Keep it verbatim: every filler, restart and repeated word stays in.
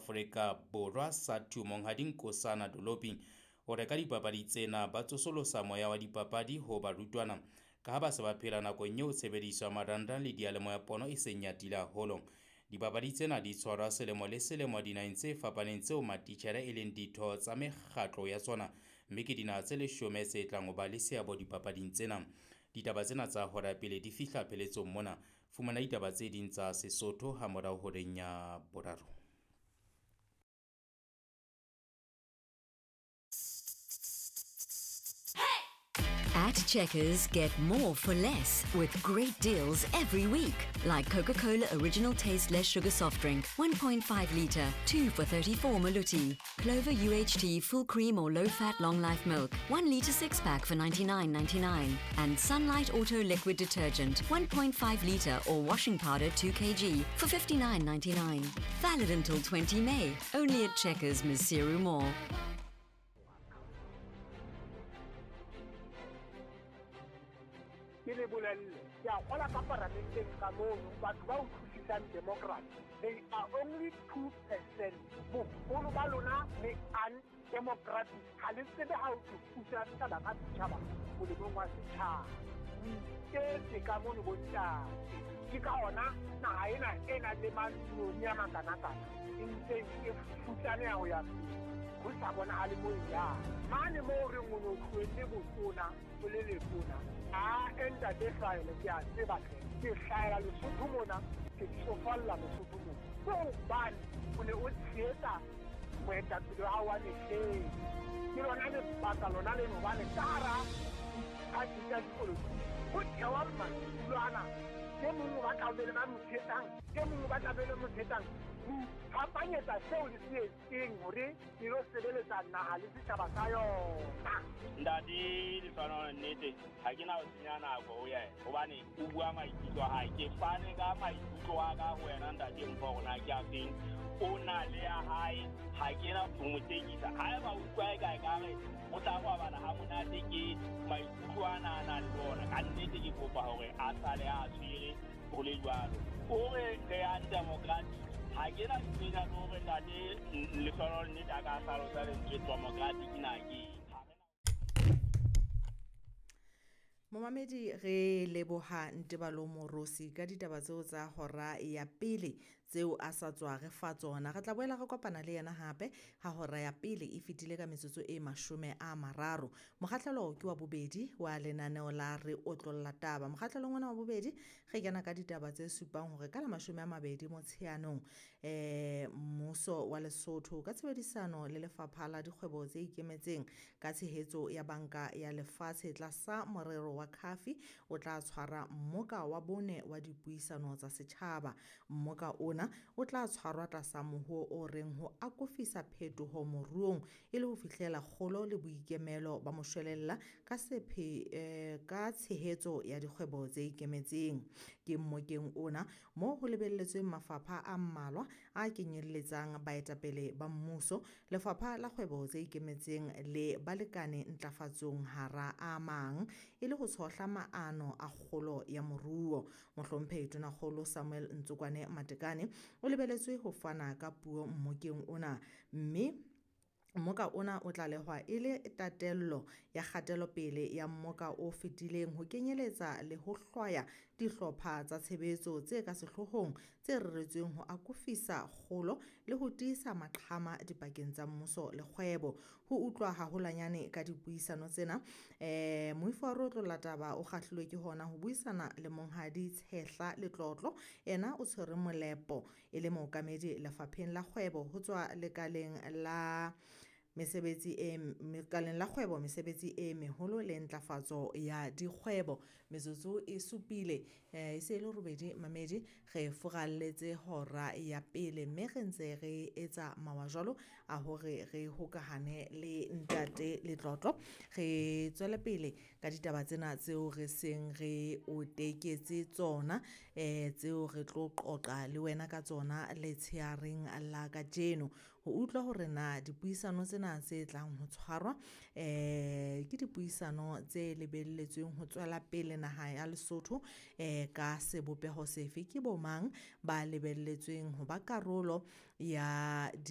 Afrika Borwa SADTU Monghadi Nkosana Dolopi o re ka dipapadi tsena ba tsosolosa moya wa dipapadi ho barutwana ka ha ba se ba phela nakong eo tshebediso ya marangrang le diyalemoya pono e seng e atile haholo. Dipapadi tsena di tshwarwa selemo le selemo dinaheng tse fapaneng tseo matitjhere e leng ditho tsa mekgatlo ya tsona, mme ke dinaha tse leshome tse tlang ho ba le seabo dipapading tsena. Ditaba tsena tsa hora pele di fihla pheletsong mona. Fumana ditaba tse ding tsa Sesotho ha morao horeng ya boraro. At Checkers, get more for less with great deals every week. Like Coca-Cola Original Taste Less Sugar Soft Drink, one point five litre, two for thirty-four Maluti. Clover U H T Full Cream or Low Fat Long Life Milk, one litre six pack for ninety-nine ninety-nine. And Sunlight Auto Liquid Detergent, one point five litre or washing powder two kilograms for fifty-nine ninety-nine. Valid until twenty May, only at Checkers, Maseru Mall. Ke le bolelle, ke a kgola ka paramenteng ka mono, batho ba utlwisisang democracy, they are only two percent. Boholo ba lona le undemocratic. Ha le tsebe ha o thusa setjhaba ka setjhaba molemong wa setjhaba. O iketse ka mono bontate. Ke ka hona naha ena e nang le mantsione a makanakana e ntseng e futsaneha ho ya pele. Ho sa bonahale moo e yang. Mane moo re o no tlohelle botona, o le letona. A ntate hlahele, ke a tseba hle. Ke hlahela Lesotho mona, ke tsofalla Lesotho mona. Ke hobane o ne o tshehetsa moetapele wa hao wa mehleng. Ke lona lebaka lona leno hobane ka hara diphathi tsa dipolotiki ho thewa madulo ana. E mong o batla ho be le ba mo tshehetsang, e mong o batla ho be le mo tshehetsang. Ho iphapanyetsa seo le se etseng hore le lo sebeletsa naha le setjhaba sa yona. Ntate Lehlohonolo, nnete ha ke na ho senya nako ho yena hobane o bua maikutlo a hae. Ke fane ka maikutlo a ka ho wena ntate Mpho hore na ke a feng. O na le ya hae, ha ke na ho mo tekisa. Haeba o utlwa eka ekare o tla robala ha monate ke maikutlo ana a nang le ona. Ka nnete ke kopa hore a sale a tshwere ho le jwalo. O re re undemocratic. Ha ke na tsena le hore ntate Lehlohonolo nnete a ka hlalosa lentswe democratic na ke eng. Momamedi, re leboha Ntebalo Morosi ka ditaba tseo tsa hora ya pele tseo a sa tswa re fa tsona. Re tla boela re kopana le yena hape ha hora ya pele e fetile ka metsotso e mashome a mararo. Mokgahlelo ke wa bobedi wa lenaneo la Re Otlolla Taba. Mokgahlelong ona wa bobedi re kena ka ditaba tse supang hore ka la mashome a mabedi Motsheanong, eh, mmuso wa Lesotho ka tshebedisano le Lefapha la Dikgwebo tse Ikemetseng ka tshehetso ya Banka ya Lefatshe tlasa morero wa Khafi o tla tshwara mmoka wa bone wa dipuisano tsa setjhaba. Mmoka ona o tla tshwarwa tlasa moho o reng ho akofisa phetoho moruong e le ho fihlela kgolo le boikemelo ba moshwelella ka sephe, eh, ka tshehetso ya dikgwebo tse ikemetseng. Ke mmokeng ona moo ho lebelletsweng mafapha a mmalwa a kenyelletsang baetapele ba mmuso, Lefapha la Kgwebo tse Ikemetseng le balekane ntlafatsong hara a mang e le ho tshohla maano a kgolo ya moruo. Mohlomphehi Tonakgolo Samuel Ntsokwane Matekane o lebeletswe ho fana ka puo mmokeng ona, mme mmoka ona o tlalehwa e le tatello ya kgatelopele ya mmoka o fetileng ho kenyeletsa le ho hlwaya dihlopha tsa tshebetso tse ka sehloohong tse reretsweng ho akofisa kgolo le ho tiisa maqhama dipakeng tsa mmuso le kgwebo. Ho utlwa haholwanyane ka dipuisano tsena, eh, moifo wa Re Otlolla Taba o kgahlilwe ke hona ho buisana le Monghadi Tshehla Letlotlo. Yena o tshwere molepo e le mookamedi Lefapheng la Kgwebo ho tswa lekaleng la mesebetsi e lekaleng la kgwebo, mesebetsi e meholo le ntlafatso ya dikgwebo. Metsotso e supile, eh, e se e le robedi mamedi, re furalletse hora ya pele mme re ntse re etsa mawa jwalo a hore re hokahane le ntate Letlotlo. Re tswele pele ka ditaba tsena tseo re seng re o teketse tsona, eh, tseo re tlo qoqa le wena ka tsona letsheareng la kajeno. Ho utlwa hore na dipuisano tsena tse tlang ho tshwarwa, eh, ke dipuisano tse lebelletsweng ho tswela pele naha ya Lesotho, eh, ka sebopeho sefe, ke bo mang ba lebelletsweng ho ba karolo ya di